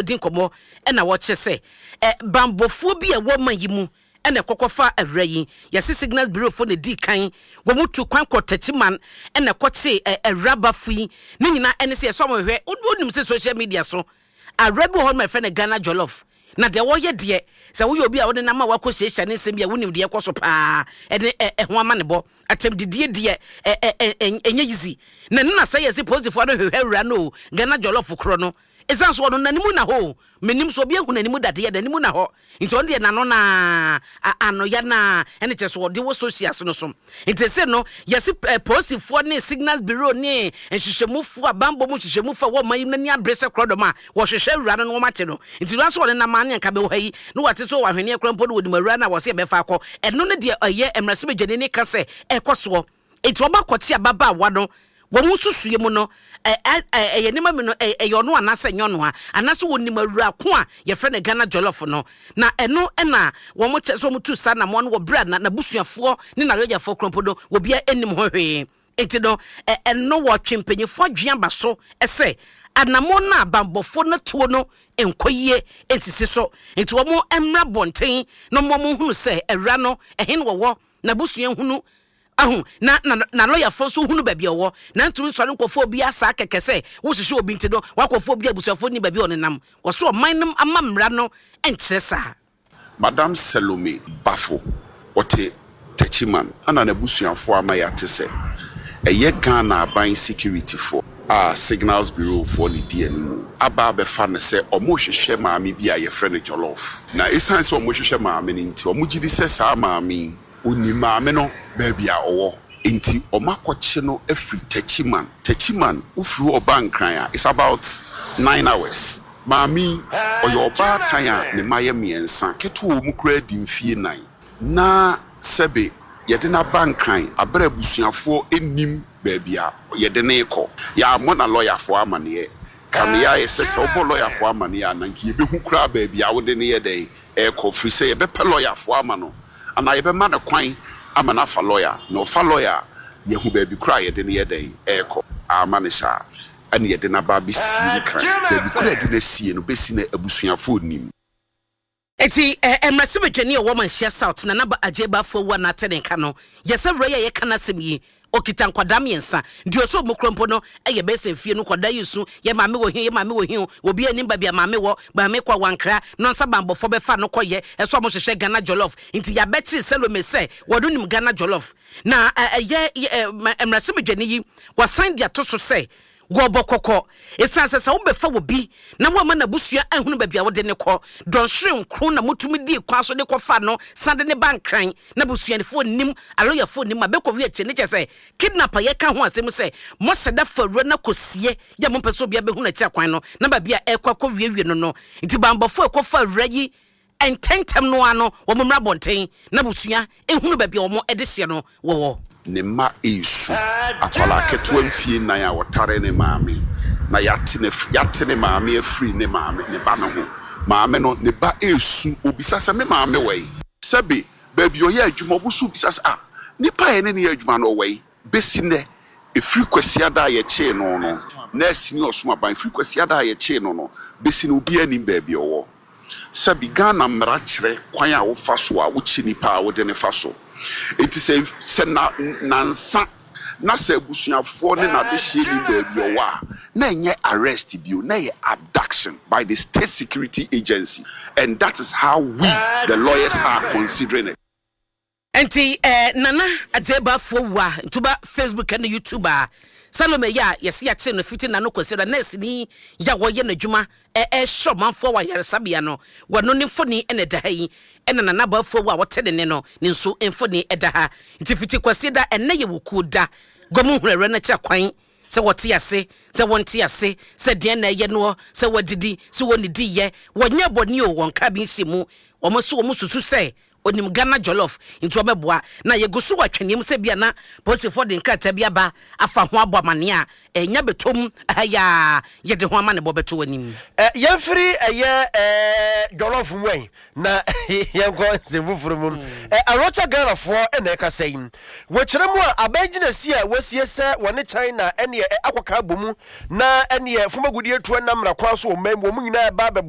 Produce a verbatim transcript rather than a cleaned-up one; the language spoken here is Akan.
Di nkɔmmɔ ɛna wɔkyerɛ sɛ ɛ bambɔfoɔ bi a ɛwɔ man yi mu ɛna ɛkɔkɔfa awura yi. Yɛsi Signals Bureau fo na di kan wɔn mu tu kwan kɔ Tɛkyiman ɛna ɛkɔkye ɛ awura bafo yi. Ne nyinaa ɛne sɛ yɛsɛ wɔn hwɛ. Wonim sɛ social media so awura bi wɔ hɔ nom a yɛfrɛ no Ghana Jollof, na deɛ wɔyɛ deɛ sɛ woyɛ obi a wɔde nam a wakɔ hyiahyia ne nsɛm bi a wonim deɛ ɛkɔ so paa ɛne ɛ ɛho ama ne bɔ atɛmdidie deɛ ɛ ɛ ɛ ɛnyɛ easy. Na ne na sɛ yɛsi polisifoɔ no hwehwɛ awura no o, Ghana Jollof korɔ no, ɛsiane so ɔno n'anim na hɔ o. Menim so obi ehu n'anim dadeɛ, n'anim na hɔ, nti ɔno deɛ n'ano naa ano ya naa ɛne kyerɛ so ɔde wɔ social so no so. Nti sɛ no yɛsi ɛ polisifoɔ ne Signals Bureau ne nhyehyɛmufoɔ a bambɔ mu nhyehyɛmufoɔ a wɔn yi n'ani abere sɛ korɔdɔm a wɔhwehwɛ awura no na wɔn ate no. Nti wura nso wɔde nam ane nka bɛwɔ ha yi na wɔate so wɔ ahweneɛ korɔ mpo no, wɔnim awura no a wɔsɛ yɛbɛfa akɔ. Ɛno ne deɛ ɛyɛ mmarahyɛbadwani ne ka sɛ ɛkɔ soɔ. Nti wɔba kɔkye ababaawa no, wɔn nsusue mu no ɛ ɛ ɛyɛ nneɛma mi no ɛ ɛyɛ ɔno anaasɛ nyɛ ɔno a anaasɛ wɔnim awura ko a yɛfrɛ no Ghana Jollof no. Na ɛno ɛna wɔn kyɛ sɛ wɔn tu saa namɔ no wɔ bere a na n'abusuafoɔ ne n'alɔyafoɔ korɔ mpo no obiara anim ho hwee. Nti no ɛ ɛno wɔtwe mpanyinfoɔ adwene aba so ɛsɛ anamɔ no a bambɔfoɔ no tuo no nkɔ yie nsisi so. Nti wɔn mmra bɔnten na wɔn hunu sɛ awura no ɛhen wɔwɔ, n'abusua hunu ahu na na na lɔyafoɔ nso hunu baabi a ɔwɔ, na ntumi nsɔre nkɔfoɔ obi asa kɛkɛ sɛ wohyehyɛ obi. Nti no wakɔfoɔ obi abusuafoɔ ni baabi a ɔnenam wɔso ɔman no ama mmara no nkyerɛ saa. Madam Salome Bafo, ɔte Techiman, ana n'abusuafoɔ ama yɛate sɛ ɛyɛ Ghana aban securityfoɔ a Signals Bureau foɔ ne di anim aba abɛfa no sɛ ɔmo hwehwɛ maame bi a yɛfrɛ no Jollof. Na ɛsiane sɛ ɔmo hwehwɛ maame no nti, ɔmo gye di sɛ saa maame yi onim maame no baabi a ɔwɔ, nti ɔmo akɔkye no afiri Techiman. Techiman wofiri hɔ ɔba Nkran a, it's about nine hours. Maame yi ɔyɛ ɔbaatan a ne mma yɛ mmiɛnsa, ketewa wɔ mu koraa di mfie nan, na sɛbe yɛde n'aba Nkran abere abusuafoɔ anim baabi a yɛde ne kɔ. Yɛammɔ na lɔyafoɔ amaneɛ kamea ayɛ sɛ sɛ wobɔ lɔyafoɔ amaneɛ a, na nka yɛbɛhu koraa baabi a wode ne yɛ dɛn ɛrekɔ, firi sɛ yɛbɛpɛ lɔyafoɔ ama no anaa yɛbɛma no kwan ama no afa lɔya, na ɔfa lɔya a, yɛhu baabi koraa a yɛde ne yɛ dɛn ɛrekɔ. Ama ne saa ɛne yɛde n'aba abɛsie Nkran. Baabi koraa yɛde no asie no bɛsi no, abusuafoɔ nim. Eti ɛ mmarahyɛbadwani a ɔwɔ Manhyia South, Nana Agye Baafo awu a n'ate ne nka no yɛsɛ wura yi a yɛka n'asɛm yi okita nkwadaa mmiɛnsa deɛ ɔsɛ ɔmu kuro mpo no ɛyɛ bɛyɛ sɛ fie no nkwadaa yi su yɛ maame wɔ hi, yɛ maame wɔ hi o, obi anim baabi a maame wɔ, maame kɔ wankra na nsa bambɔfo bɛfa no kɔyɛ ɛsɛ ɔmo hyehyɛ Ghana Jollof. Nti yɛabɛkyere Salome sɛ wɔde nim Ghana Jollof. Na ɛyɛ mmarahyɛbadwani yi wasan de ato so sɛ wɔbɔ kɔkɔ ɛsiane sɛ sɛ wobɛfa wɔ bi na woama n'abusua ahunu baabi a wode ne kɔ dɔnhwere nkron na motumi dii kwan so de kɔfa no san de ne ba Nkran na abusuafoɔ nim, alɔyafoɔ nim a bɛkɔ wi akyi ne kyɛ sɛ kidnap a yɛka ho asɛm sɛ mɔhyɛ da fa wura no kɔsie yɛ mompɛ sɛ obia bɛhu n'akyi akwan no na baabi a ɛkɔ akɔ wiewie no no Nti bambɔfoɔ ɛkɔfa wura yi ntɛntɛm no ano wɔn mmra abɔnten na abusua ehunu baabi a wɔn de hyɛ no wɔwɔ. Ne mma esu akwadaa ketewa mfie nan a wɔtare ne maame na yɛate ne yɛate ne maame afiri ne maame ne ba no ho. Maame no ne ba esu obisa sɛ me maame wɔ yi, sɛbi baabi ɔyɛ adwuma ɔbo so bisa sɛ, ah, nipa a yɛne ne yɛ adwuma no ɔwɔ yi. Besi nnɛ, efiri Kwasiada a yɛkyee no no nɛɛsi ne ɔsom aban, efiri Kwasiada a yɛkyee no no besi no, obiara nim baabi ɔwɔ. Sɛbi Ghana mmara kyerɛ kwan a wofa so a wokyi nipa a wode ne fa so. Eti sɛ sɛ na nansa na sɛ abusuafoɔ ne n'adehyɛ nim baabi ɔwɔ a, na ɛnyɛ arrest bio, na ɛyɛ abduction by the state security agency, and that is how we the lawyers are considering it. Nti eh, Nana Agye Baafoɔ wu a ntuba Facebook ne YouTube a Salome yi a yɛsi akyere no fiti nano kwasi da nurse ni yɛ a wɔyɛ n'adwuma ɛɛhyɛ ɔmanfoɔ wɔ ayaresabea no, wɔno ne mfoni ɛna ɛda ha yi, ɛna Nana Baafoɔ wu a wɔte ne ne no ne nso mfoni ɛda ha. Nti fiti Kwasi da ɛnɛ yɛ wukuo da gɔmu hunu ɛwɛ no kyerɛ kwan sɛ wɔte ase, sɛ wɔnte ase, sɛ deɛ na ɛyɛ noɔ, sɛ wɔdidi, sɛ wɔnidi yɛ wɔnyɛ bɔne o, wɔn ka bi nhyɛ mu. Wɔn nso wɔn susu sɛ onim Ghana Jollof nti wɔbɛboa na yɛgu so wɔ atwɛneɛ mu sɛ bia na polisifoɔ de nkrataa bi aba afa ho abɔ amanneɛ a ɛnya bɛtɔm ɛha yɛde ho ama ne bɔ bɛto anim. Ɛ yɛmfiri ɛyɛ ɛɛ jollof mu ɛn na yɛnkɔ nsɛm foforɔ mu. Ɛ Arocha Ghanafoɔ ɛna ɛkasa yi wɔkyerɛ mu a aban gyinasi a wɔasie sɛ wɔne China ɛneɛ ɛ akɔka abɔ mu na ɛneɛ fomagudie tuo nam mmara kwan so wɔ man mu wɔn nyinaa ɛba abɛbɔ.